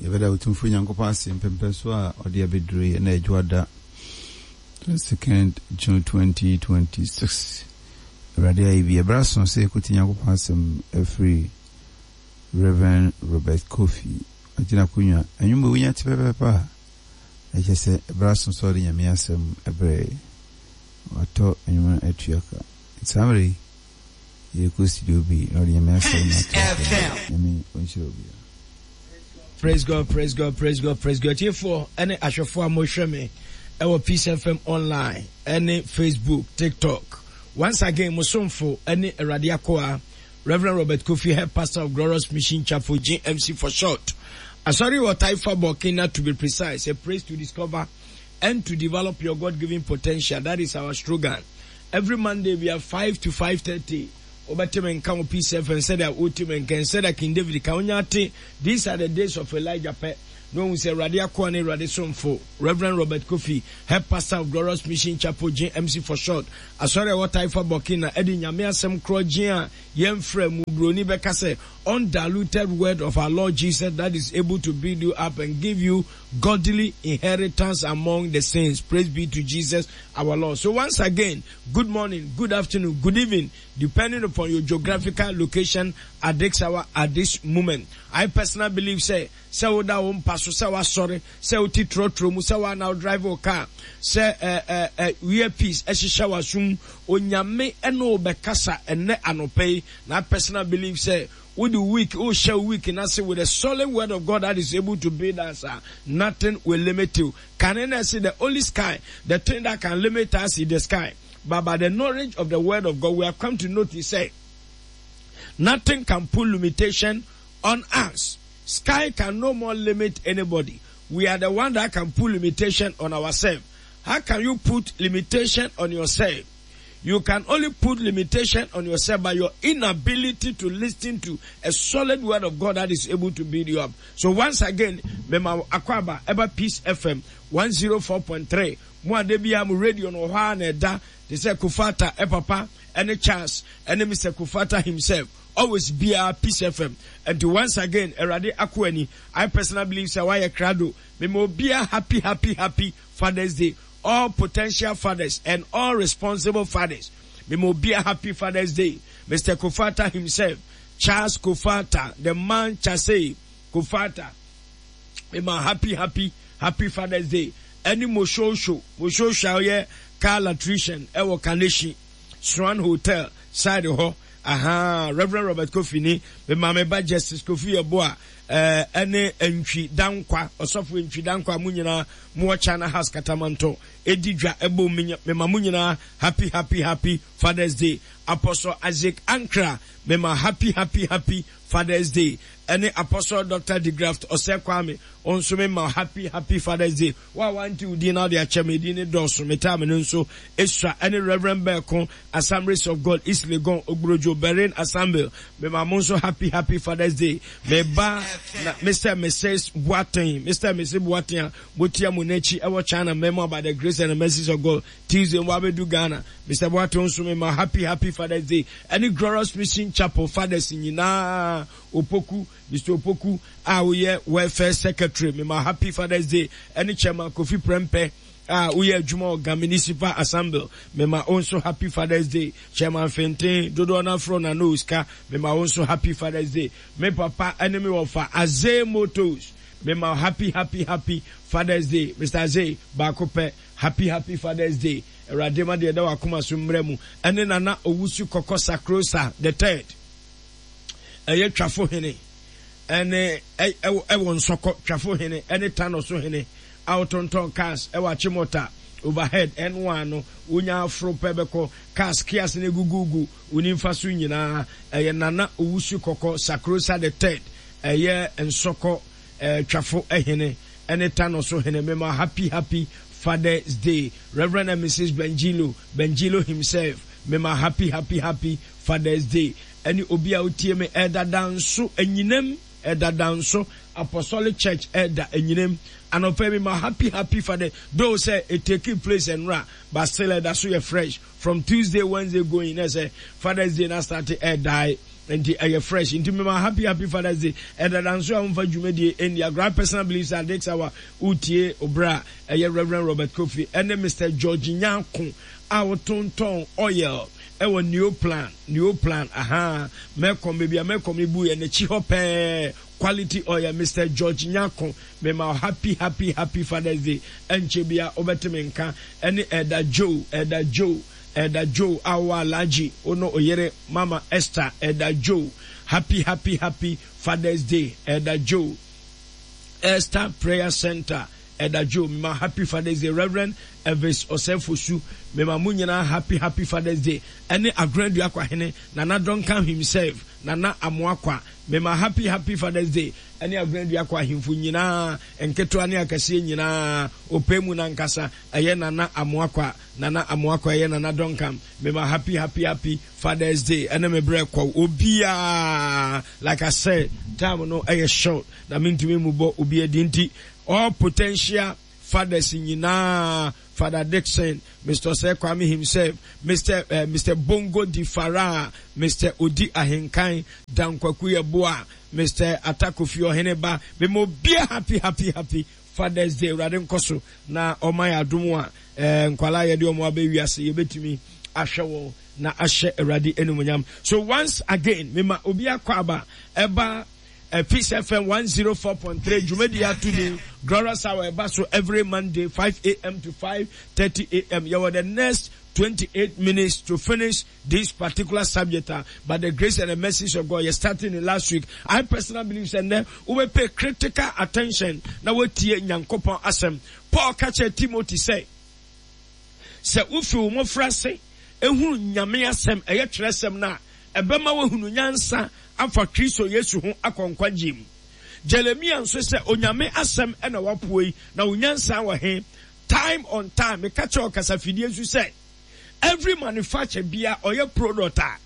Yɛbɛda Otumfoɔ Nyankopɔn ase mpɛmpɛnsoɔ a ɔde abɛduru yi ɛna Adwoada 22nd June 2026. Awurade ayɛ bi. Ɛberɛ aso sɛ yɛkɔtie Nyankopɔn asɛm afiri Rev. Robert Kofi Agyina akonnwa. Anwummerɛ yi wonya te pɛpɛɛpɛ a, ɛkyerɛ sɛ ɛberɛ aso sɛ ɔde Nyame asɛm brɛ yɛn. Watɔ anwummerɛ no atua ka. Nti saa mmerɛ yi, yɛrekɔ studio bi na ɔde Nyame asɛm no ato akonnwa. Nyame ɔnhyira obiara. Praise God, praise God, praise God, praise God. Tiefoɔ ɛne ahwɛfoɔ a mohwɛ me ɛwɔ Peace FM online ɛne Facebook, TikTok. Once again, mo somfo ɛne Awurade akoa Reverend Robert Kofi, Head Pastor of Glorious Mission Chapel, GMC for short. Asɔre wɔ Taifa Burkina to be precise, a place to discover and to develop your God-given potential. That is our slogan. Every Monday we are 5 to 5:30. Wobɛte me nka wɔ Peace FM sɛdeɛ wote me nka sɛdeɛ King David ka wonya te These are the days of Elijah pɛ na wahu sɛ Awurade akoa ne Awurade somfo Rev. Robert Kofi, Head Pastor of Glorious Mission Chapel GMC for short, Asɔre a ɛwɔ Taifa Burkina de Nyame asɛm korɔgyen a yɛmfra mu, Buroni bɛka sɛ undiluted word of our Lord Jesus that is able to build you up and give you godly inheritance among the saints. Praise be to Jesus our Lord. So once again, good morning, good afternoon, good evening, depending upon your geographical location at this hour, at this moment. I personally believe sɛ, sɛ woda wo mpa so, sɛ wasɔre, sɛ wote trɔtrɔ mu, sɛ woa na drive wo car, sɛ ɛ ɛ ɛ earpiece ɛhyehyɛ w'asom, Onyame ɛne wo bɛkasa ɛnnɛ anɔpa yi. Na I personally believe sɛ wode week, wohyɛ wo week no ase with a solid word of God that is able to build us a, nothing will limit you. Kane na ɛse the only sky, the thing that can limit us is the sky. But by the knowledge of the word of God, we have come to notice sɛ nothing can put limitation on us. Sky can no more limit anybody. We are the one that can put limitation on ourselves. How can you put limitation on yourself? You can only put limitation on yourself by your inability to listen to a solid word of God that is able to build you up. So once again, Mema Akwaba, Eba Peace FM 104.3. Mo a da biara mo radio no wɔ hɔ ara na ɛda te sɛ Kofata papa ɛne Charles ɛne Mister Kofata himself always biara Peace FM nti once again Awurade akoa ni I personally believe sɛ wayɛ krado mema obiara happy happy happy Father's Day all potential fathers and all responsible fathers mema obiara happy Father's Day Mister Kofata himself Charles Kofata the man Chasey Kofata mema happy happy happy Father's Day ɛne Moshosho Moshosho a ɔyɛ car electrician ɛwɔ Kaneshie Swan Hotel side hɔ ahaa Reverend Robert Kofi ni me maame ba Justice Kofi Yeboah ɛɛ ɛne Ntwi Dankwa ɔsɔfo Ntwi Dankwa mo nyinaa mo wɔ China House Katamanto edi dwa ɛbɔ me ma mo nyinaa happy happy happy Father's Day Apostle Isaac Ankra me ma happy happy happy Father's Day ɛne Apostle Doctor Degraft Osei Kwame wo nso me ma happy happy Father's Day wo a wante wo din na wode akyɛ me din ne dɔɔso me time no nso esua ɛne Reverend Bɛɛko Assemblies of God East Legon Ogbrojo Berin Assembly me ma mo nso happy happy Father's Day me ba na Mr and Mrs Boateng Mr and Mrs Boateng a motia mo n'akyi ɛwɔ China mɛmo by the grace and the mercies of God Tuesday mo abɛdu Ghana. Mister Boateng nso mema happy happy Father's Day ɛne Glorious Mission Chapel fathers nyinaa. Opoku, Mister Opoku a woyɛ welfare secretary mema happy Father's Day ɛne Chairman Kofi Prempeh a woyɛ adwuma wɔ Ga Municipal Assembly mema wo nso happy Father's Day. Chairman Fenten dodoɔ no afrɛ na no sika mema wo nso happy Father's Day. Me papa ɛne me wɔfa Azee Motors mema happy happy happy Father's Day. Mister Azee baako pɛ. Happy happy father's day awurade ma deɛ ɛda wakoma so mmerɛ mu ɛne nana owusu kɔkɔ sakrosa the third ɛyɛ twafo hene ɛne ɛwɔ nsɔkɔ twafo hene ɛne tano so hene a ɔtontɔn cars ɛwɔ akyemɔta overhead ɛno ano wonya aforo pɛ bɛkɔ cars kias ne gugugu wo nimfa so nyinaa ɛyɛ nana owusu kɔkɔ sakrosa the third ɛyɛ nsɔkɔ twafo hene ɛne Tano so hene mema happy happy father's day Reverend and Mrs Bengilo Bengilo himself mema happy happy happy father's day ɛne obi a otie me ɛdada nso anyinam ɛdada nso Apostolic Church ɛda anyinam anɔpa mema happy happy father though sɛ it take place ɛnora but still ɛda so yɛ fresh from Tuesday Wednesday going na sɛ father's day na start ɛdae. Nti ɛyɛ fresh. Nti mema happy happy Father's Day. Ɛdada nso a womfa dwumadie ɛnni agorɔ. I personally believe sɛ at this hour woretie obra a ɛyɛ Reverend Robert Kofi ɛne Mister George Nyarko a wotontɔn oil ɛwɔ Neoplan, Neoplan, ahaa, Mɛkɔm, baabi a Mɛkɔm no buiɛ n'akyi hɔ pɛɛ, quality oil, Mister George Nyarko, mema wo happy happy happy Father's Day. Ɛnkyɛ bia wobɛte me nka ɛne Elder Joe, Elder Joe. Elder Joe a wowɔ Alhaji wo ne oyere Mama Esther Elder Joe happy happy happy Father's Day Elder Joe Esther Prayer Center Elder Joe mema happy Father's Day Reverend Elvis Osei-Fosu mema mo nyinaa happy happy Father's Day ɛne Agorandua Kwahene Nana Duncan himself Nana Amoakwa mema happy happy Father's Day ɛne Agorandua Kwa ahemfo nyinaa nketewa ne akɛseɛ nyinaa ɔpɛ mu nankasa ɛyɛ Nana Amoakwa Nana Amoako ɛyɛ Nana Duncan mema happy happy happy Father's Day ɛne me brɛ kɔ obiaa like I said time no ɛyɛ short na mentumi mu bɔ obi adi nti all potential fathers nyinaa Father Dixon Mr. Osei Kwame himself Mr. Uh, eh, Mr. Bongo Di Farah Mr. Odi Ahenkan Dankwaku Yeboah Mr. Atakofi Oheneba mema obia happy happy happy Father's Day Awurade nkɔ so na ɔma yɛ adom a eh, nkwalaa yɛde wɔn abɛ wiase yɛbɛtumi ahwɛ wɔn na ahyɛ Awurade animuonyam. So once again mema obi akɔ aba ɛba eh, Peace FM 104.3 dwumadi ato din Glorious Hour ɛba so every Monday 5 a.m. to 5:30 a.m. Yɛwɔ the next 28 minutes to finish this particular subject a by the grace and the mercies of God yɛ starting it last week. I personally believe sɛ nnɛ wobɛ pay critical attention na woatie Nyankopɔn asɛm. Paul ka kyerɛ Timothy sɛ, sɛ wofi wo mmɔfraase ehunu Nyame asɛm, ɛyɛ twerɛsɛm no a, ɛbɛma woahunu nyansa afa Kristo Yesu ho akɔ nkwagyeɛ mu. Jeremia nso sɛ, Onyame asɛm na wapoe yi, na wo nyansa wɔ he? Time on time, meka kyerɛ ɔkasafidie nso sɛ, Every manufacture bia ɔyɛ product a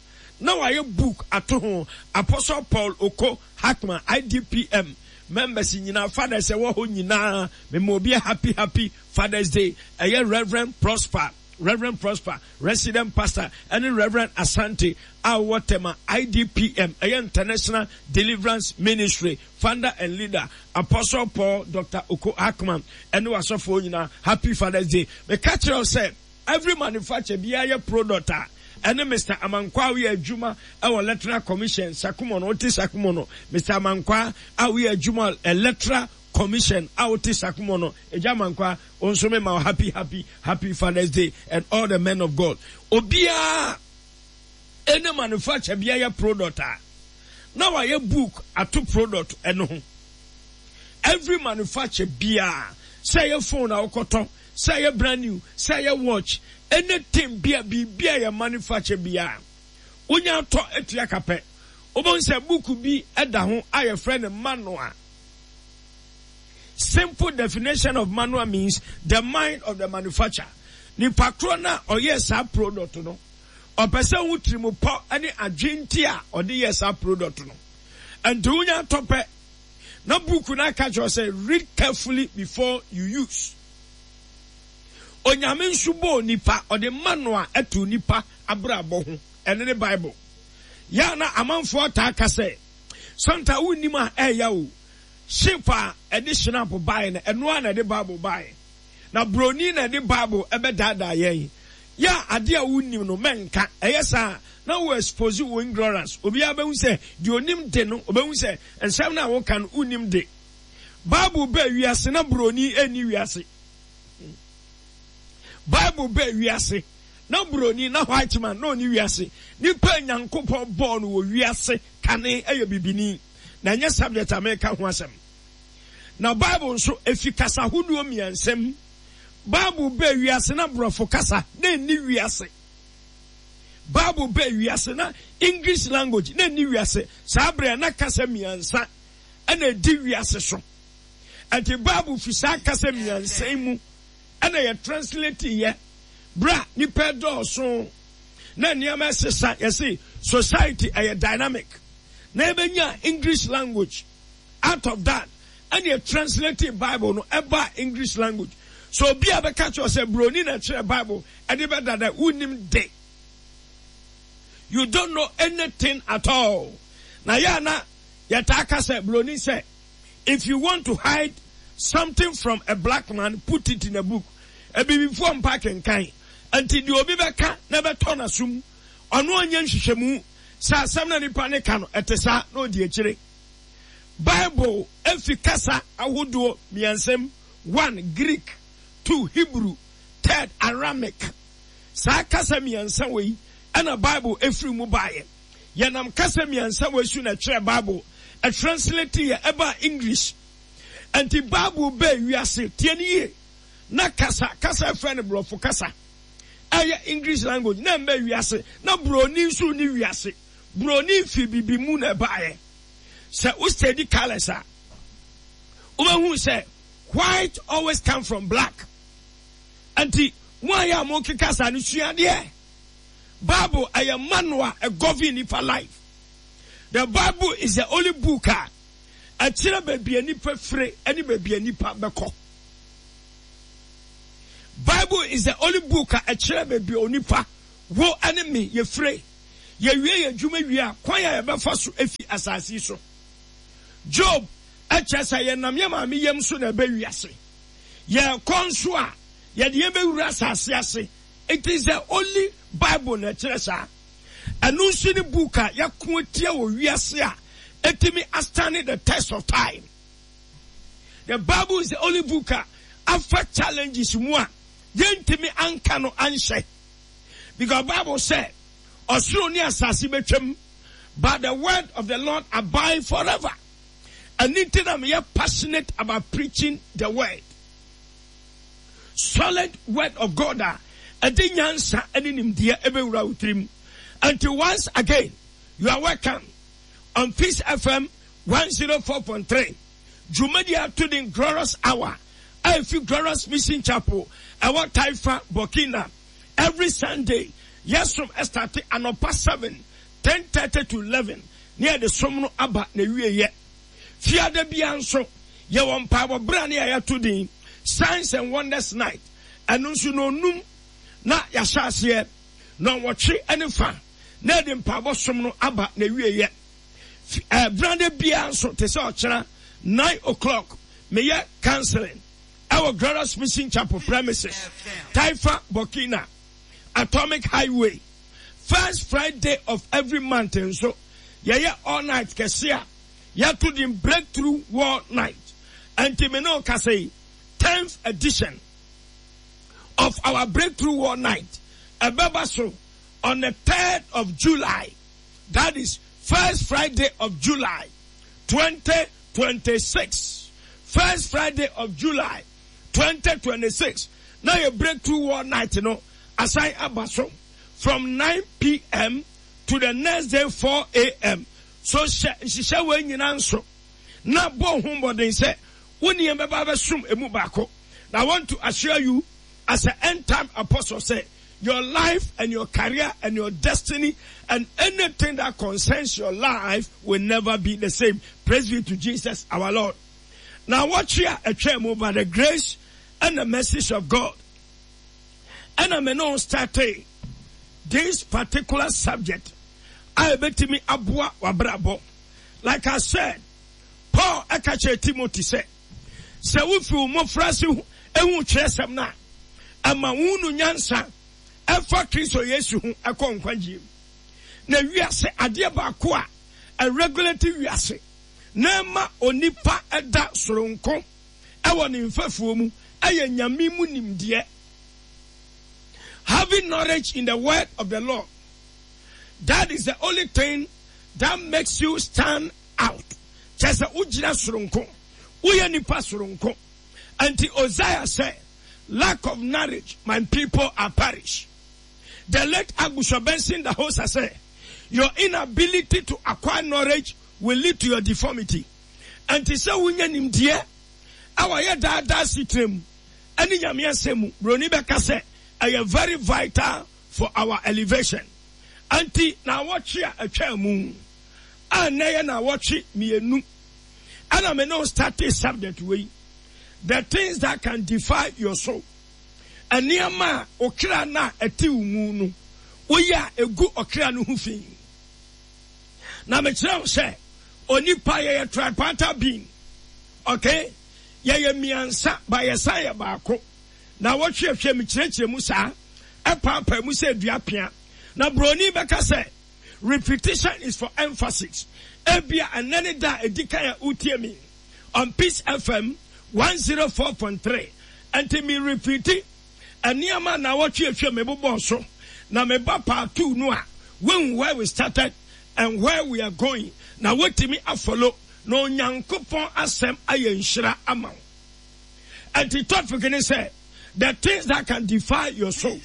na wayɛ book ato ho Apostle Paul Oko Hackman IDPM members nyinaa fathers ɛwɔ hɔ nyinaa mema obi happy happy Father's Day ɛyɛ Reverend Prosper Reverend Prosper resident pastor ɛne Reverend Asante a wɔwɔ Tema IDPM ɛyɛ International Deliverance Ministry founder and leader Apostle Paul Dr. Oko Hackman ɛne wasɔfoɔ nyinaa happy Father's Day meka kyerɛ wo sɛ Every manufacture biara yɛ product a ɛne Mister Amankwaa a woyɛ adwuma wɔ Electoral Commission Sakumono wote Sakumono Mister Amankwaa a woyɛ adwuma Electoral Commission a wote Sakumono Agya Amankwaa wo nso me ma wo happy happy happy Father's Day and all the men of God obiara ɛne manufacture biara yɛ product a na wayɛ book ato product ɛno ho every manufacture biara sɛ ɛyɛ phone a wokɔtɔ Sɛ ɛyɛ brand new, sɛ ɛyɛ watch, anything bi a biribi a yɛ manufacture biara, wonya atɔ atua ka pɛ, wobɛhu sɛ book bi da ho a yɛfrɛ no manual. Simple definition of manual means the mind of the manufacturer. Nipa korɔ no a ɔyɛɛ saa product no, ɔpɛ sɛ wo tirimupɔ ne adwene nti a ɔde yɛɛ saa product no. Nti wonya atɔ pɛ, Na book no aka kyerɛ sɛ read carefully before you use. Onyame nso bɔɔ nipa, ɔde manual ɛto nipa abrabɔ ho, ɛno ne Bible. Yɛ a na amanfoɔ taa ka sɛ, Santa wonnim a ɛɛya o, ship a ɛde shinap baeɛ no, ɛno ara na ɛde Bible baeɛ. Na broni na ɛde Bible ɛbɛdaadaa yɛn. Yɛ a adeɛ a wonnim no mɛnka, ɛyɛ saa a na wo expose wo ignorance. Obiara bɛhu sɛ deɛ onim de no, ɔbɛhu sɛ nsɛm no a woka no wonnim de. Bible baa wiase na broni nni wiase. Bible baa wiase na broni na white man na ɔnni wiase. Nipa a Nyankopɔn bɔɔ no wɔ wiase kane yɛ bibini. Na ɛnyɛ subject a meka ho asɛm. Na Bible nso, efi kasa hodoɔ mmiɛnsa mu. Bible baa wiase na borɔfo kasa na ɛnni wiase. Bible baa wiase na English language na ɛnni wiase. Saa berɛ na kasa mmiɛnsa ɛna ɛdi wiase so. Ɛnti Bible fi saa kasa mmiɛnsa yi mu ɛna yɛ translate yɛ. Berɛ a nipa dɔɔso na nneɛma ɛsesa, yɛse society ɛyɛ dynamic. Na yɛbɛnya English language. Out of that ɛna yɛ translate bible no ɛbaa English language. So obi a bɛka kyerɛ sɛ broni na ɛkyerɛ bible ɛde bɛdada wonim de. You don't know anything at all. Na yɛ a na yɛtaa ka sɛ broni sɛ if you want to hide something from a black man put it in a book. Abibifoɔ mpa akenkan nti deɛ obi bɛka na ɛbɛtɔ n'asom ɔno ɔnyɛ nhwehwɛmu sɛ asɛm na nipa ne ka no ɛte saa na ɔdi akyire. Bible efi kasa ahodoɔ mmiɛnsa mu, one Greek, two Hebrew, third Aramaic. Saa kasa mmiɛnsa wei ɛna Bible efiri mu baeɛ. Yɛnam kasa mmiɛnsa wei so na ɛtwerɛ Bible, ɛtranslate yɛ ɛbaa English. Ɛnti Bible bɛɛ wiase, tie no yie, na kasa, kasa ɛfrɛ no borɔfo kasa, ɛyɛ English language, na ɛmbɛ wiase, na buroni nso ni wiase. Buroni fi bibi mu na ɛbaeɛ. Sɛ wo study colours a, wobɛhu sɛ white always come from black. Nti mo a yɛ a mokeka saa no sua adeɛ. Bible ɛyɛ manual a ɛgovern nipa life. The Bible is the only book a ɛkyerɛ baabi a nipa fire ne baabi a nipa bɛkɔ. Bible is the only book a ɛkyerɛ baabi a onipa wo ne me yɛfire. Yɛwie yɛn adwuma wie a, kwan a yɛbɛfa so afi asase yi so. Job kyerɛ sɛ yɛnam yɛn maame yam so na ɛbɛ wiase. Yɛkɔ nso a, yɛde yɛn bɛwura asase ase. It is the only Bible na ɛkyerɛ saa. Ɛno nso ne book a yɛako atia wɔ wiase a ɛtumi astane the test of time. The Bible is the only book a afa challenges mu a yɛntumi anka no anhyɛ. Because Bible sɛ ɔsoro ne asase bɛtwam but the word of the Lord abide forever. Ɛno nti na meyɛ passionate about preaching the word. Solid word of God a ɛde nyansa ne nimdeɛ ɛbɛwura wo tirim. Until once again, you are welcome on Peace FM 104.3. Dwumadi ato din Glorious Hour a ɛfi Glorious Mission Chapel ɛwɔ Taifa, Burkina. Every Sunday, yɛsom ɛstate anɔpa 7, 10:30 to 11 ne yɛde som no aba na wieyɛ. Fiada biara nso, yɛwɔ mpaebɔ berɛ a ne yɛato din Signs and Wonders Night. Ɛno nso nɔnum na yɛahyɛ aseɛ, nɔnwɔtwe ne fa na yɛde mpaebɔ som no aba na wieyɛ. Brande biara nso te sɛ ɔkyena 9 o'clock meyɛ counseling ɛwɔ Glorious Mission Chapel premises, Taifa, Burkina, Atomic Highway. First Friday of every month nso yɛyɛ all night kɛse a yɛato din Breakthrough War Night. Ɛnti me ne wo kasa yi, 10th edition of our Breakthrough War Night ɛbɛba so on the 3rd of July. That is first Friday of July 2026. First Friday of July 2026. Na yɛ Breakthrough War Night no asan aba so from 9 p.m. to the next day 4 a.m. So hyɛ nhyehyɛ wei nyinaa nso na bɔ ho mmɔden sɛ wo ne yɛn bɛba abɛsom emu baako. Na I want to assure you as an end time apostle sɛ your life and your career and your destiny and anything that concerns your life will never be the same. Praise be to Jesus our Lord. Now watch here a chair by the grace and the message of God. And I'm not starting this particular subject. I bet me abua wabrabo. Like I said, Paul ɛka kyerɛ Timothy sɛ, sɛ wofi wo mmɔfraase hu twerɛsɛm no a, ɛma wohunu nyansa ɛfa Kristo Yesu ho ɛkɔ nkwagyeɛ mu. Na wiase adeɛ baako a ɛregulate wiase na ɛma onipa ɛda soronko ɛwɔ ne mfɛfoɔ mu ɛyɛ Nyame mu nimdeɛ. Having knowledge in the word of the Lord, that is the only thing that makes you stand out. Kyerɛ sɛ wogyina soronko, woyɛ nipa soronko. Nti Hosea sɛ, lack of knowledge, my people are perish. The late Archbishop Benson Idahosa sɛ, your inability to acquire knowledge will lead to your deformity. Nti sɛ wonya nimdeɛ a wɔyɛ daadaa setena mu ɛne Nyame asɛm mu, Buroni bɛka sɛ ɛyɛ very vital for our elevation. Nti naawɔtwe a atwaa mu a nnɛ yɛ naawɔtwe mmienu ɛna me ne wo startee subject wei, the things that can defy your soul. Nneɛma a okra no a ɛte wo mu no, Woyɛ a egu ɔkra no ho fi. Na mekyerɛ wo sɛ onipa yɛyɛ tripartite being. Okay? Yɛyɛ mmiɛnsa ba yɛsan yɛ baako. Na wɔhwehwɛ me kyerɛkyerɛ mu saa ɛpaapaa mu sɛ dua pea. Na broni bɛka sɛ repetition is for emphasis. Ebia ɛnnɛ ne da a edi kan a wotie me on Peace FM 104.3. Ɛnti me repeati nneɛma naawɔtwe atwam mebobɔɔ so. Na meba part 2 no a, woahu where we started and where we are going. Na wotumi afollow na Onyankopɔn asɛm ayɛ nhyira ama wo. Ɛnti topic ne sɛ the things that can defile your soul.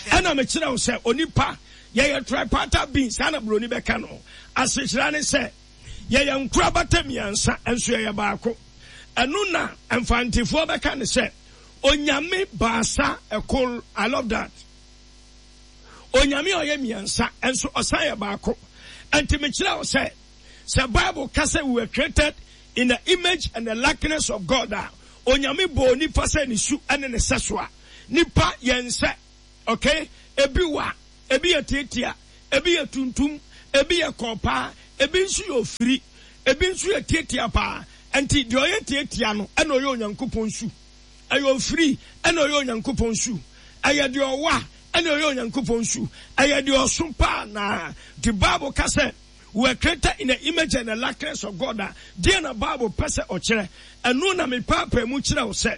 Ɛna mekyerɛ wo sɛ onipa yɛyɛ tripartite being, saa na buroni bɛka no. Asekyerɛ ne sɛ yɛyɛ nkorabata mmiɛnsa nso yɛyɛ baako. Ɛno na mfantefoɔ bɛka ne sɛ Onyame baasa ɛkor. I love that. Onyame a ɔyɛ mmiɛnsa nso ɔsan yɛ baako. Ɛnti mekyerɛ wo sɛ sɛ Bible ka sɛ we were created in the image and the likeness of God a, Onyame bɔɔ nipa sɛ ne su ne ne sɛso a, nipa yɛ nsɛ. Okay? Ebi wa, ebi yɛ tiatia, ebi yɛ tuntum, ebi yɛ kɔɔ paa, ebi nso yɛ ofiri, ebi nso yɛ tiatia paa. Ɛnti deɛ ɔyɛ tiatia no ɛna ɔyɛ Onyankopɔn su. Ɛyɛ ofiri ɛna ɔyɛ Onyankopɔn su. Ɛyɛ deɛ ɔwa ɛna ɔyɛ Onyankopɔn su. Ɛyɛ deɛ ɔso paa naa. Nti Bible ka sɛ we were created in the image and the likeness of God a, deɛ na Bible pɛ sɛ ɔkyerɛ? Ɛno na mepaapaa mu kyerɛ wo sɛ,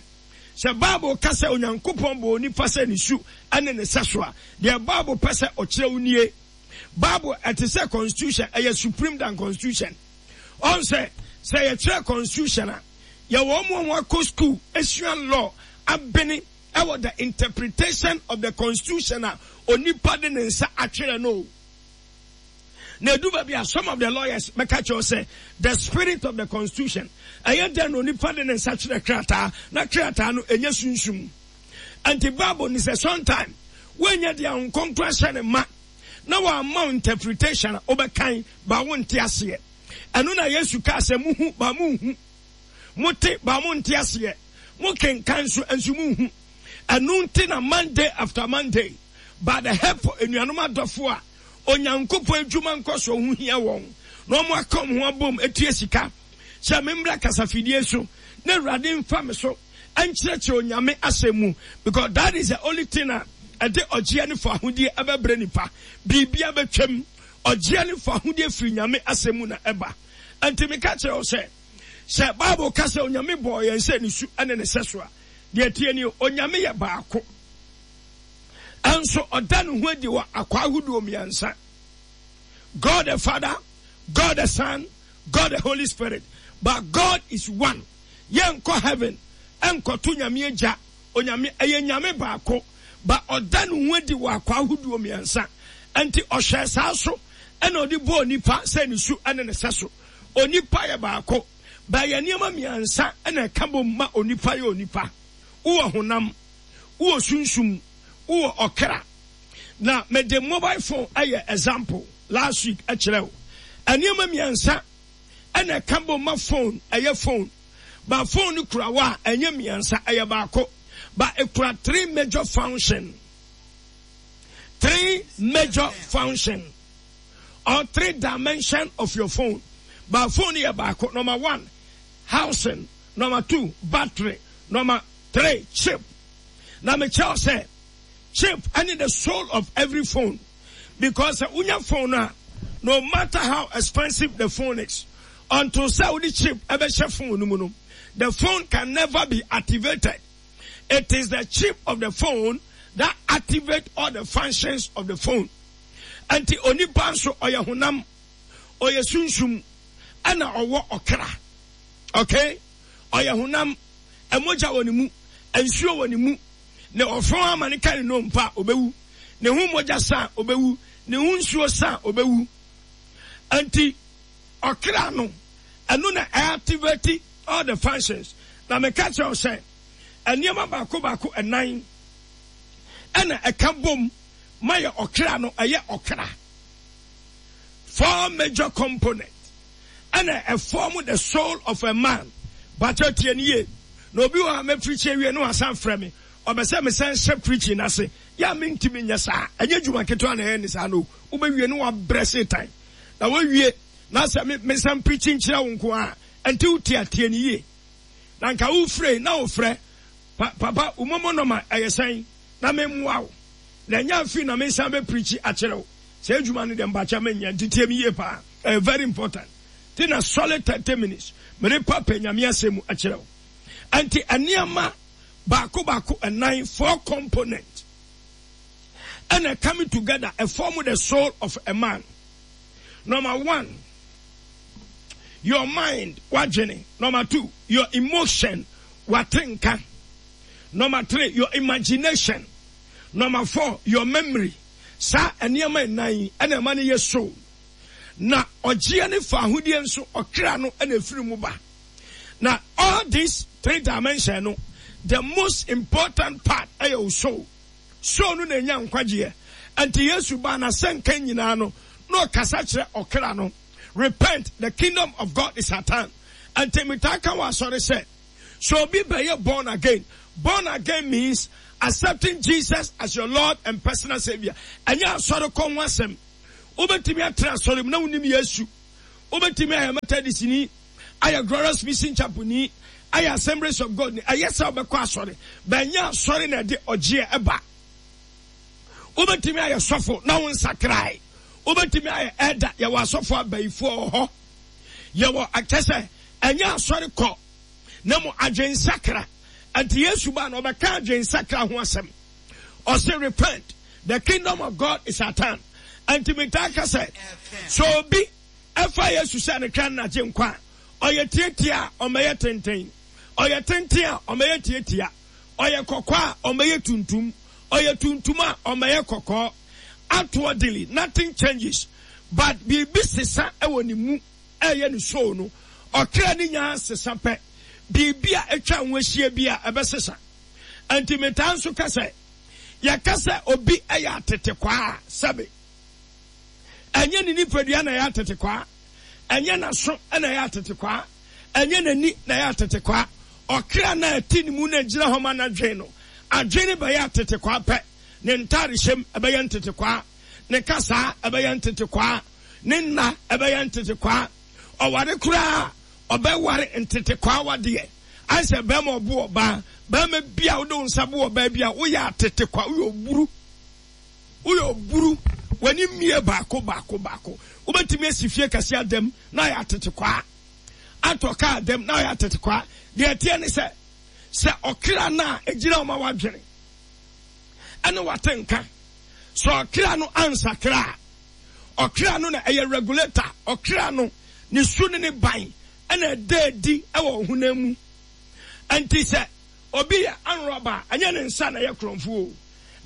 sɛ Bible ka sɛ Onyankopɔn bɔɔ onipa sɛ ne su ne ne sɛso a, deɛ Bible pɛ sɛ ɔkyerɛ wo nie. Bible ɛte sɛ constitution, ɛyɛ supreme than constitution. Ɔn sɛ, sɛ yɛkyerɛ constitution a, yɛwɔ wɔn a wɔakɔ school asua law abene ɛwɔ the interpretation of the constitution a onipa de ne nsa atwerɛ no o. Na edu baabi a some of the lawyers bɛka kyerɛ sɛ the spirit of the constitution ɛyɛ dɛn na onipa de ne nsa twerɛ krataa na krataa no ɛnyɛ sunsum. Nti Bible ni sɛ sometime woanya deɛ Honhom Kronkron ahyɛ ne ma na wamma wo interpretation a wobɛkan ba wonte aseɛ. Ɛno na Yesu kaa sɛ muhu ba monhu, mote ba monte aseɛ, mokenkan nso nso monhu. Ɛno nti na Monday after Monday by the help of anuanom adɔfo a Onyankopɔn adwuma nkɔsoɔ ho hia wɔn na wɔn aka wɔn ho abom atua sika sɛ memmra kasafidie so na Awurade mfa me so nkyerɛkyerɛ Onyame asɛm mu, because that is the only thing a ɛde ɔgyeɛ ne fahodie ɛbɛbrɛ nipa. Biribia bɛtwam, ɔgyeɛ ne fahodie firi Nyame asɛm mu na ɛba. Ɛnti meka kyerɛ wo sɛ, sɛ Bible ka sɛ Onyame bɔɔ yɛn sɛ ne su ne ne sɛso a, deɛ ɛteɛ nie, Onyame yɛ baako. Ɛnso ɔda ne ho adi wɔ akwaa ahodoɔ mmiɛnsa. God the Father, God the Son, God the Holy Spirit. But God is one. Yɛnkɔ heaven nkɔto Nyame Agya, Onyame, ɛyɛ Nyame baako, but ɔda ne ho adi wɔ akwaa ahodoɔ mmiɛnsa. Ɛnti ɔhwɛɛ saa so ɛna ɔde bɔɔ nipa sɛ ne su ɛne ne sɛso. Onipa yɛ baako, but ɛyɛ nneɛma mmiɛnsa ɛna ɛka bom ma onipa yɛ onipa. Wowɔ honam, wowɔ sunsum, wowɔ ɔkra. Na mede mobile phone ayɛ example last week kyerɛ wo. Nneɛma mmiɛnsa ɛna ɛka bom ma phone ɛyɛ phone. But phone no kura wo a, ɛnyɛ mmiɛnsa, ɛyɛ baako. But ekura three major function. Three major function or three dimension of your phone. But phone yɛ baako. Number one, housing. Number two, battery. Number three, chip. Na mekyerɛ wo sɛ chip ɛne the soul of every phone because sɛ wonya phone no a, no matter how expensive the phone is, until sɛ wode chip ɛbɛhyɛ phone no mu no, the phone can never be activated. It is the chip of the phone that activate all the functions of the phone. Ɛnti onipa nso ɔyɛ honam, ɔyɛ sunsum, ɛna ɔwɔ ɔkra. Okay? Ɔyɛ honam, ɛmogya wɔ ne mu, nsuo wɔ ne mu. Ne ɔfɔn ama ne ka ne nnompe a, ɔbɛwu. Ne ho mogya sa a, ɔbɛwu. Ne ho nsuo sa a, ɔbɛwu. Ɛnti ɔkra no, ɛno na ɛactivate all the functions. Na meka kyerɛ wo sɛ, nneɛma baako baako ɛnan ɛna ɛka bom ma yɛ ɔkra no ɛyɛ ɔkra. Four major component ɛna ɛform the soul of a man. Bakyɛ tie ne yie. Na obi wɔ ha mɛpirikyi awie na wasan frɛ me. Ɔbɛ sɛ mesan hyɛ preaching no ase. Yɛ a mentumi nyɛ saa. Ɛnyɛ adwuma ketewa na ɛyɛ ne saa no. Wobɛwie no wabrɛ Satan. Na wawie na sɛ me mesan preaching kyerɛ wo nko a, ɛnti wo te ateɛ ne yie. Na nka wofrɛ na wofrɛ pa papa wo momo nɔma ɛyɛ sɛn na memmoa wo. Na ɛnyɛ afei na mesan bɛ preachi akyerɛ wo. Saa adwuma no deɛ mpakyɛ menyɛ nti tie me yie paa. Ɛyɛ very important. Ti na solid 30 minutes mede pa pɛ Nyame asɛm mu akyerɛ wo. Ɛnti nneɛma baako baako ɛnan, four component, ɛna coming together ɛform the soul of a man. Number one, your mind, wadwene. Number two, your emotion, watenka. Number three, your imagination. Number four, your memory. Saa nneɛma nnan yi ɛna ɛma no yɛ soul. Na ɔgyeɛ ne faahodie nso ɔkra no ɛna ɛfiri mu ba. Na all these three dimension no, the most important part ɛyɛ wo soul. Soul no na ɛnya nkwagyeɛ. Ɛnti Yesu baa n'asɛnka nyinaa no, na ɔkasa kyerɛ ɔkra no. Repent, the kingdom of God is at hand. Ɛnti metaa ka wɔ asɔre sɛ, sɛ obi bɛyɛ born again, born again means accepting Jesus as your Lord and personal savior. Ɛnyɛ asɔre kɔ ho asɛm. Wobɛtumi atena asɔre mu na wonim Yesu. Wobɛtumi ayɛ Methodistni, ayɛ Glorious Mission Chapelni, ayɛ Assemblies of God ni. Ɛyɛ sɛ wobɛkɔ asɔre, but ɛnyɛ asɔre na ɛde ɔgyeɛ ɛba. Wobɛtumi ayɛ sɔfo na wo nsakrae. Wobɛtumi ayɛ elder, yɛwɔ asɔfo abayifoɔ wɔ hɔ. Yɛwɔ akyɛ sɛ ɛnyɛ asɔre kɔ na mu adwensakra. Ɛnti Yesu baa na ɔbɛka adwensakra ho asɛm. Ɔse repent, the kingdom of God is at hand. Ɛnti metaa ka sɛ, sɛ obi ɛfa Yesu sɛ ne kra ne n'agyenkwa a, ɔyɛ tiatia a ɔmmɛyɛ tenten, ɔyɛ tenten a ɔmmɛyɛ tiatia, ɔyɛ kɔkɔɔ a ɔmmɛyɛ tuntum, ɔyɛ tuntum a ɔmmɛyɛ kɔkɔɔ. Outwardly, nothing changes, but biribi sesa wɔ ne mu ɛyɛ ne soul no. Ɔkra ne nyaa sesa pɛ, biribi a atwa ho ahyia bi a ɛbɛsesa. Ɛnti metaa nso ka sɛ, yɛka sɛ obi yɛ atetekwaa a, sɛbe, ɛnyɛ ne nipadua na ɛyɛ atetekwaa, ɛnyɛ n'aso na ɛyɛ atetekwaa, ɛnyɛ n'ani na ɛyɛ atetekwaa. Ɔkra no a ɛte ne mu na ɛgyina hɔ ma n'adwene no, adwene no bɛyɛ atetekwaa pɛ. Ne ntadehyɛm ɛbɛyɛ ntetekwaa, ne kasaa ɛbɛyɛ ntetekwaa, ne nna ɛbɛyɛ ntetekwaa. Ɔware koraa a, ɔbɛware ntetekwaa awadeɛ. Ayɛ sɛ bɛrima ɔbo ɔbaa. Bɛrima bi a wode wo nsa bo ɔbaa bi a, woyɛ atetekwaa, woyɛ oburu. Woyɛ oburu, w'ani mmie baako baako baako. Wobɛtumi asi fie kɛse adam na ayɛ atetekwaa. Atɔ kaa adam na ayɛ atetekwaa. Deɛ ɛteɛ ne sɛ, sɛ ɔkra no a ɛgyina wo ma w'adwene ɛne w'atenka, sɛ ɔkra no ansakra a, ɔkra no na ɛyɛ regulator, ɔkra no ne su ne ne ban ɛna ɛda adi ɛwɔ ɔhonam mu. Ɛnti sɛ obi yɛ anrɔba a, ɛnyɛ ne nsa na ɛyɛ korɔmfo o.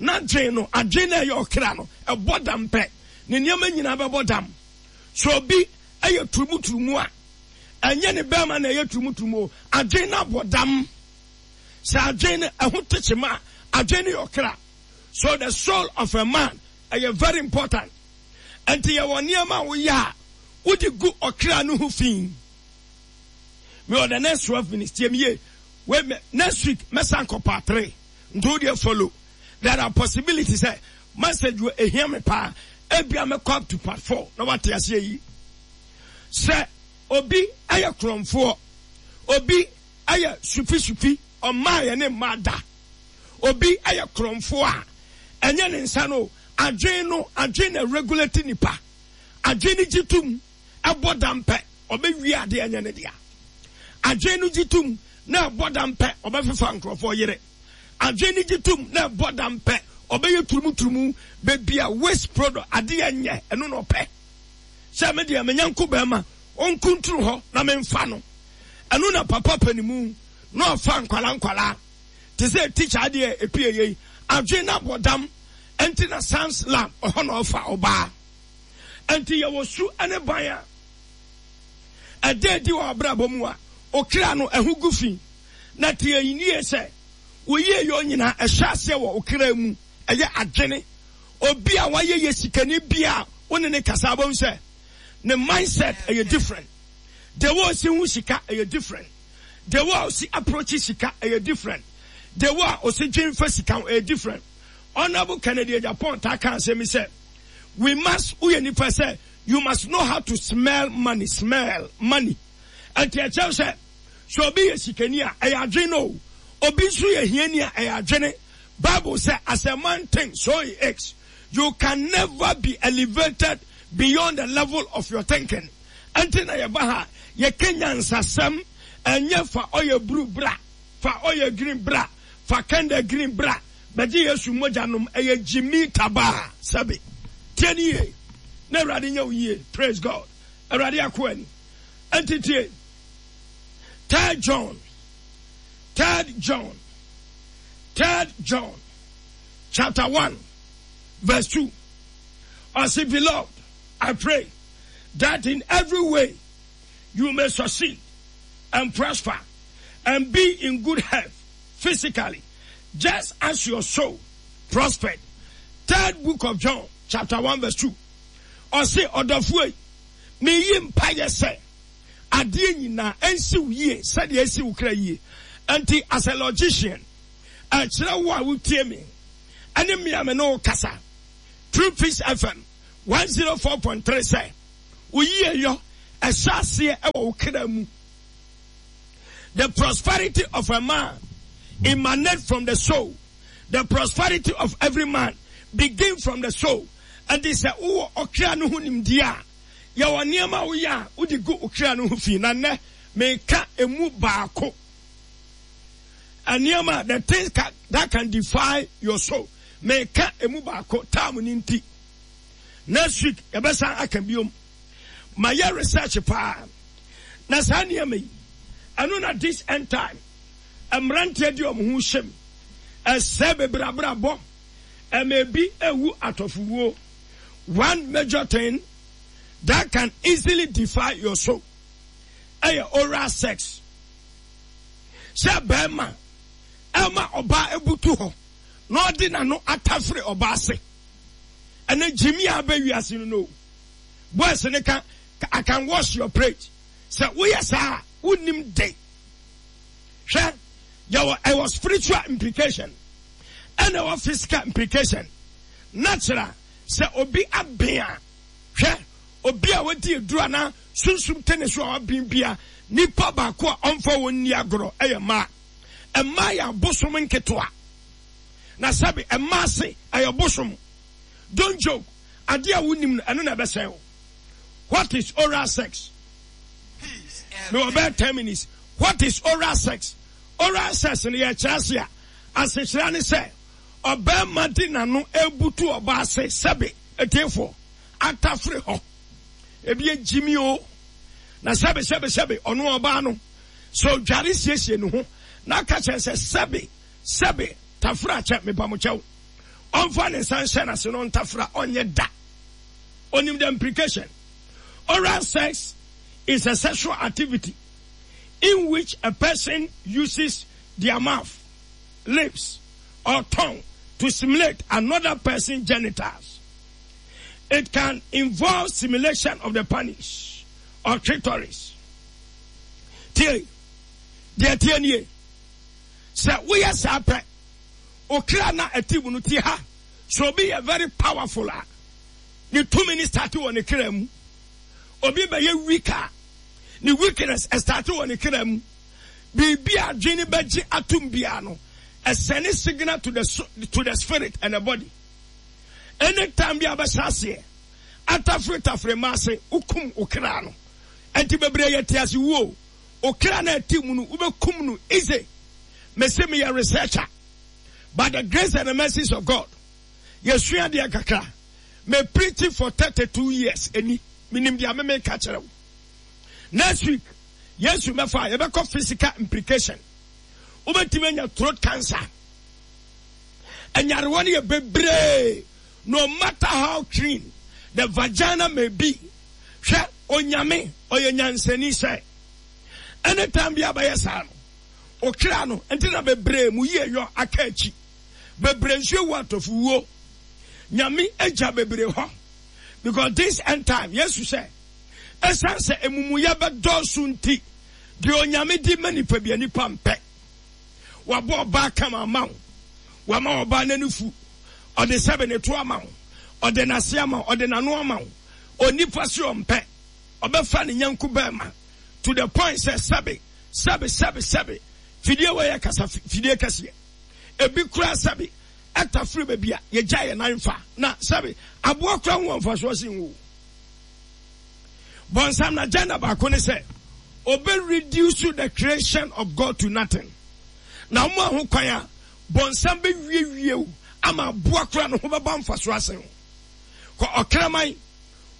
N'adwen no, adwen na ɛyɛ ɔkra no, ɛbɔ dam pɛ. Ne nneɛma nyinaa bɛbɔ dam. Sɛ obi ɛyɛ turumuturumu a, ɛnyɛ ne bɛrima na ɛyɛ turumuturumu o. Adwen no abɔ dam. Sɛ adwen no ɛho te kyema a, adwen no yɛ ɔkra. So the soul of a man ɛyɛ very important. Ɛnti yɛwɔ nneɛma a woyɛ a, wode gu ɔkra no ho fi. Me wɔ the next 12 minutes, tie me yie. Wait, me, next week, mɛsan kɔ part 3. Nti wo deɛ follow. There are possibilities sɛ message wɔ ehia me paa. Ebia mɛkɔ up to part 4 na wate aseɛ yi. Sɛ obi ɛyɛ korɔmfoɔ, obi ɛyɛ sufi-sufi, ɔmmaa yɛ ne mmaa da. Obi ɛyɛ korɔmfoɔ a, ɛnyɛ ne nsa no, adwene no, adwene na regulate nipa. Adwene no gye tom, ɛbɔ dam pɛ, ɔbɛwie adeɛ ɛnyɛ ne dea. Adwene no gye tom na ɛbɔ dam pɛ, ɔbɛfefa nkurɔfoɔ yere. Adwene no gye tom na ɛbɔ dam pɛ, ɔbɛyɛ turumuturumu, baabi a waste product, adeɛ nyɛ, ɛno na ɔpɛ. Sɛ me deɛ, me nyanko bɛrima, ɔnkunturu hɔ na memfa no. Ɛno na papa panimu na ɔfa nkwalaa nkwalaa. Te sɛ tikya adeɛ epie yei, adwene no abɔ dam, ɛnti na science lab, ɔhɔ na ɔfa ɔbaa. Ɛnti yɛwɔ su ne ban a ɛda adi wɔ abrabɔ mu a okra no ɛho gu fi. Na tie nie sɛ wo yieyɔ nyinaa ɛhyɛ aseɛ wɔ okra mu, ɛyɛ adwene. Obi a wayɛ yɛ sikani bi a wo ne ne kasa wobɛhu sɛ ne mindset ɛyɛ different. The way ɔsi hu sika ɛyɛ different. The way ɔsi approach sika ɛyɛ different. The way a ɔsi dwen fa sika ho ɛyɛ different. Honourable Kennedy Agyapong taa ka asɛm yi sɛ, we must, woyɛ nipa sɛ, you must know how to smell money, smell money. Ɛnti ɛkyerɛ sɛ, sɛ obi yɛ sikani a, ɛyɛ adwene no o. Obi nso yɛ hiani a, ɛyɛ adwene. Bible sɛ, as a man thinks, so he is. You can never be elevated beyond the level of your thinking. Ɛnti na yɛba ha, yɛka nyansasɛm, ɛnyɛ fa ɔyɛ blue bra. Fa oil green bra, fa candle green bra, bɛgye Yesu mogya nom, ɛyɛ gyimii tabaa, sɛbe. Tie no yie, na Awurade nyɛ wo yie, praise God. Awurade akoa ni. Ɛnti tie, Third John, Third John, Third John, chapter 1, verse 2. Ɔse, beloved, I pray that in every way you may succeed and prosper and be in good health physically, just as your soul prospered. Third book of John, chapter 1, verse 2. Ɔse, ɔdɔfoɔ yi, meyi mpaeɛ sɛ adeɛ nyinaa ɛnsi wo yie sɛdeɛ ɛsi wo kra yie. Nti as a logician, ɛkyerɛ wo a wotie me ɛne me a me ne wo kasa through Peace FM 104.3 sɛ wo yieyɔ ɛhyɛ aseɛ ɛwɔ wo kra mu. The prosperity of a man emanate from the soul. The prosperity of every man begin from the soul. Ɛnti sɛ wowɔ ɔkra no ho nimdeɛ a, yɛwɔ nneɛma a woyɛ a wode gu ɔkra no ho fi. Na nnɛ meka emu baako. Nneɛma, the things that can defy your soul. Meka emu baako, time no nti. Next week yɛbɛsan aka biom. Mayɛ research paa na saa nneɛma yi ɛno na this end time mmeranteɛ de wɔn ho hyɛ mu ɛsɛe bebree abrabɔ ɛma ebi ewu atɔfowuo. One major thing that can easily defile your soul ɛyɛ oral sex. Sɛ bɛrima ɛma ɔbaa ebutu hɔ na ɔde n'ano atafere ɔbaa ase. Ɛnɛ gyimi a abɛ wiase no no. Boys no ka I can wash your plate. Sɛ woyɛ saa a wonnim de. Hwɛ, yɛwɔ ɛwɔ spiritual implication ɛna ɛwɔ physical implication. Natural sɛ obi aben a, hwɛ obi a wadi aduru anaa sunsum te ne so a waben bia, nipa baako a ɔmfa wɔn nni agorɔ ɛyɛ mmaa. Mmaa yɛ abosom nketewa. Na sɛbe mmaa se ɛyɛ bosom. Don't joke. Adeɛ a wonim no, ɛno na ɛbɛsɛe wo. What is oral sex? Mewɔ bɛyɛ 10 minutes. What is oral sex? Oral sex no yɛkyerɛ ase a, asekyerɛ ne sɛ ɔbarima de n'ano ebutu ɔbaa ase sɛbe etiefoɔ atafere hɔ. Ebi agyimi o. Na sɛbe sɛbe sɛbe ɔno ɔbaa no sɛ ɔdware siesie ne ho na aka kyerɛ sɛ sɛbe sɛbe tafere akyɛ mepamokyɛw. Ɔmfa ne nsa nhyɛ n'ase na ɔntafra, ɔnyɛ da. Onim the implication. Oral sex is a sexual activity in which a person uses their mouth, lips, or tongue to simulate another person's genitals. It can involve simulation of the penis or clitoris. Tie, deɛ tie nie. Sɛ woyɛ saa pɛ, Okra na ɛte mu no tie ha. Sɛ obi yɛ very powerful a, ne tumi no starte wɔ ne kra mu. Obi bɛyɛ weak a, ne weakness ɛstarte wɔ ne kra mu. Biribi a adwene bɛgye atom biara no, ɛsɛne signal to the, to the spirit and the body. Anytime bi a bɛhyɛ aseɛ atafere tafere mma ase, wokum okra no. Ɛnti bebree yɛ te ase wuo. Okra na ɛte mu no, wobɛkum no easy. Mese meyɛ researcher by the grace and the mercies of God. Yɛsua deɛ kakra. Me preach for 32 years eni. Menim deɛ meme ka kyerɛ wo. Next week, Yesu mɛfa yɛbɛkɔ physical implication. Wobɛtumi anya throat cancer. Anyarewa no yɛ bebree. No matter how clean the vagina may be. Hwɛ, Onyame, ɔyɛ nyansani sɛ anytime bi a bɛyɛ saa no, Okra no nti na bebree mu yie yɔ aka akyi. Bebree nso ewu atɔfo wuo. Nyame agya bebree hɔ. Because this end time, Yesu sɛ, ɛsan sɛ emumuyɛ bɛdɔɔso nti, deɛ Onyame di ma nipa bia nipa mpɛ. Wabɔ ɔbaa kama ama wo. Wama ɔbaa n'ani fu. Ɔde sɛbe ne to ama wo. Ɔde n'ase ama wo. Ɔde n'ano ama wo. Onipa se ɔmpɛ. Ɔbɛfa ne nyanko bɛɛma to the point sɛ sɛbe, sɛbe, sɛbe, sɛbe. Fidie wei yɛ kasa fidie kɛseɛ. Ebi koraa sɛbe ɛtafere baabi a yɛgya yɛn nan fa. Na sɛbe aboa koraa ho wɔ mfasoɔ sen wo. Bɔnsam n'agenda baako ne sɛ ɔbɛ reduce the creation of God to nothing. Na wɔn a ho kwan a bɔnsam bɛwiewie wo ama aboa koraa no ho bɛba mfasoɔ asen wo. Kɔ ɔkraman,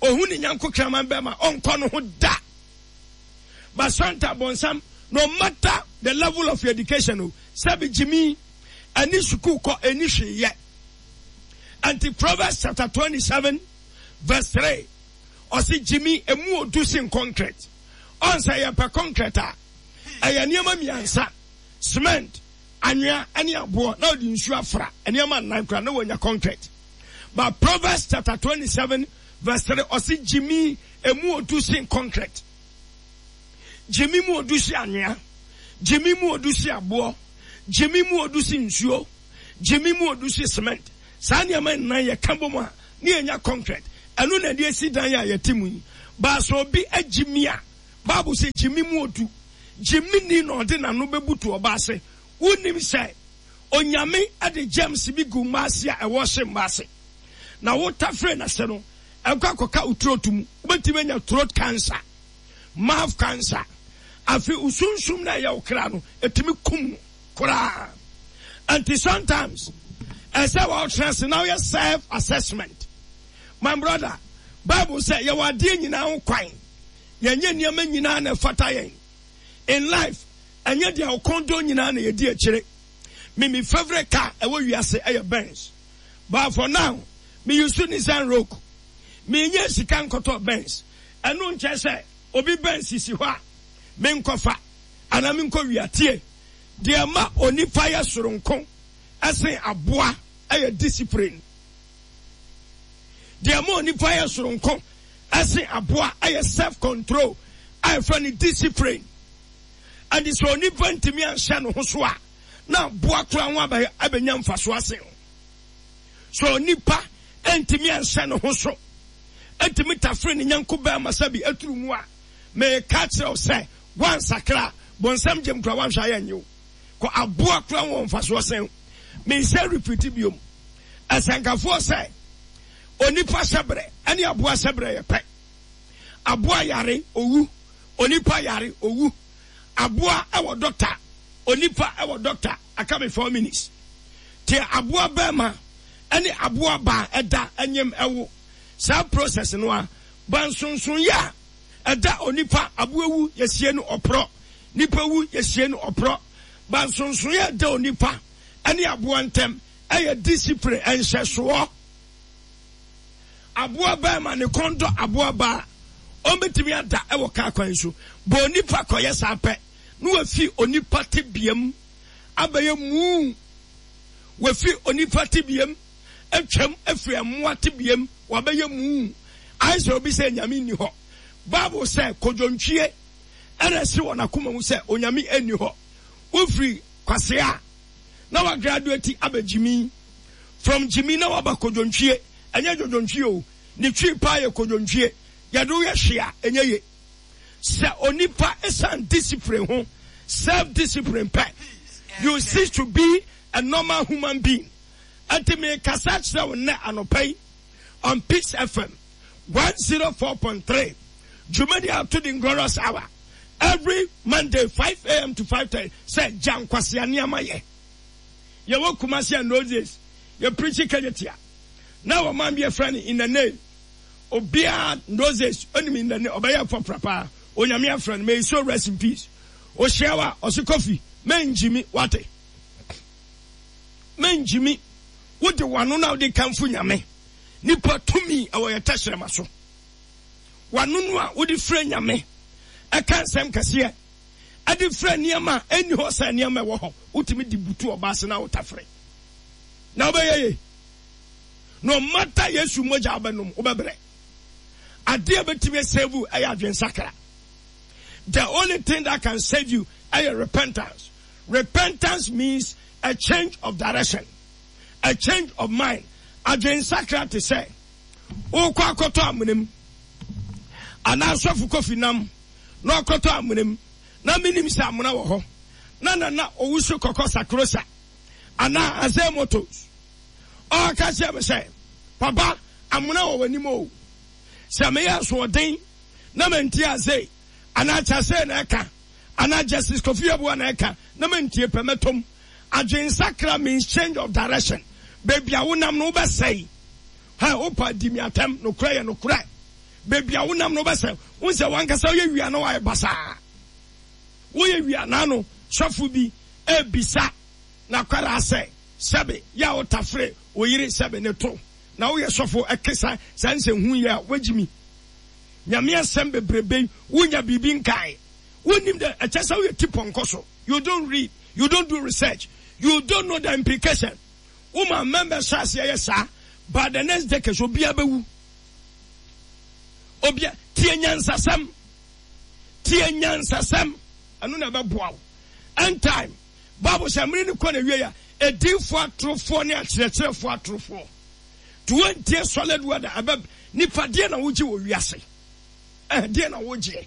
ohu ne nyanko kraman bɛma ɔnkɔ no ho da. But Santa bɔnsam, no matter the level of your education o, sɛbi gyimi, ɛne sukuu kɔ ɛni hwee yɛ. Ɛnti Proverbs chapter 27 verse 3 ɔse gyimi emu odu sen concrete. Ɔn sɛ yɛpɛ concrete a, ɛyɛ nneɛma mmiɛnsa, cement, anwea ɛne aboɔ na ɔde nsuo afra nneɛma nnan koraa na wanya concrete. But Proverbs chapter 27 verse 3 ɔse gyimi emu odu sen concrete. Gyimi mu odu sen anwea. Gyimi mu odu sen aboɔ. Gyimi mu odu sen nsuo. Gyimi mu odu sen cement. Saa nneɛma nnan yɛka bom a ne yɛnya concrete. Ɛno na ɛde asi dan a yɛte mu yi. But sɛ obi agyimi a, Bible sɛ gyimi mu odu. Gyimini na ɔde n'ano bɛbutu ɔba ase. Wonim sɛ Onyame de germs bi gu mma ase a ɛwɔ hye mma ase. Na wo tafere n'ase no, ɛkɔ akɔka wo throat mu. Wobɛtumi anya throat cancer, mouth cancer. Afei wo sunsum na ɛyɛ wo kra no, ɛtumi kum no koraa. Nti sometimes, ɛsɛ wɔtena ase na woyɛ self assessment. My brother, Bible sɛ yɛwɔ adeɛ nyinaa ho kwan. Yɛnyɛ nneɛma nyinaa na ɛfata yɛn. In life, ɛnyɛ deɛ ɔkɔn dɔ nyinaa na yɛdi akyire. Me me favorite car ɛwɔ wiase ɛyɛ Benz. But for now, me use Nissan Rogue. Me nyɛ sika nkɔtɔ Benz. Ɛno nkyɛ sɛ obi Benz sisi hɔ a, me nkɔfa anaa me nkɔ wia. Tie, deɛ ɛma onipa yɛ soronko ɛsen aboa ɛyɛ discipline. Deɛ ɛma onipa yɛ soronko ɛsen aboa ɛyɛ self control a yɛfrɛ no discipline. Ɛnti sɛ onipa ntumi anhyɛ ne ho so a, na aboa koraa ho abɛ abɛnya mfaso asen o. Sɛ onipa ntumi anhyɛ ne ho so, ntumi tafere ne nyanko bɛrima sɛ bi aturu mu a, meka kyerɛ wo sɛ wansakra a, bonsam gyem koraa wanhwɛ ayɛ nye wo. Kɔ aboa koraa ho wɔ mfasoɔ sen wo. Mensɛ repeat biom. Ɛsɛnkafoɔ sɛ onipa hyɛbrɛ ɛne aboa hyɛbrɛ yɛ pɛ. Aboa yare, owu. Onipa yare, owu. Aboa wɔ dɔkta, onipa wɔ dɔkta. Aka me 4 minutes. Te aboa bɛrima ne aboa baa ɛda nyem ɛwo. Saa process no a, ba nsonsonyɛ a ɛda onipa, aboa wu yɛsie no ɔporɔ, nipa wu yɛsie no ɔporɔ. Ba nsonsonyɛ a ɛda onipa ne aboa ntɛm ɛyɛ discipline, nhyɛsoɔ. Aboa barima ne kɔn dɔ aboa baa a, ɔbɛtumi ada wɔ kaa kwan so. Bɔ onipa kɔyɛ saa pɛ na wafi onipa tebeam abɛyɛ muu. Wafi onipa tebeam atwam afiri mmoa tebeam wabɛyɛ muu. Ayɛ sɛ obi sɛ nyame nni hɔ. Bible sɛ kodwontwie ɛna ɛsi wɔ n'akoma mu sɛ onyame nni hɔ. Wofiri kwasea na wagraduate abɛ gyimi. From gyimi na waba kodwontwie. Ɛnyɛ dwodwontwie o, ne twi paa yɛ kodwontwie. Yɛde wo yɛ hwee a, ɛnyɛ ye. Sɛ onipa ɛsan discipline ho, self discipline pɛ, you cease to be a normal human being. Ɛnti mekasa kyerɛ wo nnɛ anɔpa yi on Peace FM 104.3 dwumadi a ato din Glorious Hour every Monday 5am to 5:30 sɛ gya nkwasea nneɛma yɛ. Yɛwɔ Kumasi and those days yɛ preachi Kejetia na wɔ man bi yɛfrɛ no in the name obiara those days onim in the name ɔbɛyɛ pɔpra paa onyame afrɛ no may his soul rest in peace ohyia wa ɔse Kofi mengyimi wate mengyimi wode wano na wode kamfo nyame nipa tumi ɛwɔ yɛ tɛhyerɛma so wano no a wode frɛ nyame ɛka nsɛm kɛseɛ ɛde frɛ nneɛma a ɛnni hɔ sɛ nneɛma ɛwɔ hɔ wotumi de butu ɔbaa ase na wotafere na wobɛyɛ ye no matter Yesu mogya wobɛnom wobɛbrɛ adeɛ a bɛtumi save ɛyɛ adwensakra the only thing that can save you ɛyɛ repentance. Repentance means a change of direction, a change of mind. Adwensakra te sɛ wokɔ akɔtɔ amena mu anaa sɔfo kofi nam na ɔkɔtɔ amena mu na menim sɛ amena wɔ hɔ na nana owusu kɔkɔ sakrosa anaa azɛ motos ɔka kyerɛ me sɛ papa amena wɔ w'anim o sɛ meyɛ asoɔden na mantie ase anaa kyasee na ɛka anaa Justice Kofi Yeboah na ɛka na mantie pɛ mɛtɔm. Adwensakra means change of direction. Baabi a wonam no wobɛsɛe. Hɛ, wopa di me atɛm, nokorɛ yɛ nokorɛ. Baabi a wonam no wobɛsɛe. Wohu sɛ wankasa woyɛ wia na woayɛ basaa. Woyɛ wia na ano sɔfo bi ɛrebisa n'akwadaa sɛ, sɛbe yɛ a wotafere wo yere sɛbe ne to na woyɛ sɔfo ɛke sa saa nsɛnhunu yi a woagyimi. Nyame asɛm bebrebe yi wonya biribi nkae. Wonnim dɛ ɛkyɛ sɛ woyɛ ti pɔnkɔ so. You don't read, you don't do research, you don't know the implication. Wo ma members hyɛ aseɛ yɛ saa, by the next decade obiara bɛwu. Obia tie nyansasɛm, tie nyansasɛm, ɛno na ɛbɛboa wo. End time, Bible sɛ mmere no kɔ na wie a, ediifoɔ atorofoɔ ne akyerɛkyerɛfoɔ atorofoɔ. To wɔntie solid word a ɛbɛ nipa deɛ na wogye wɔ wiase. Ɛhɛ deɛ na wogyeɛ.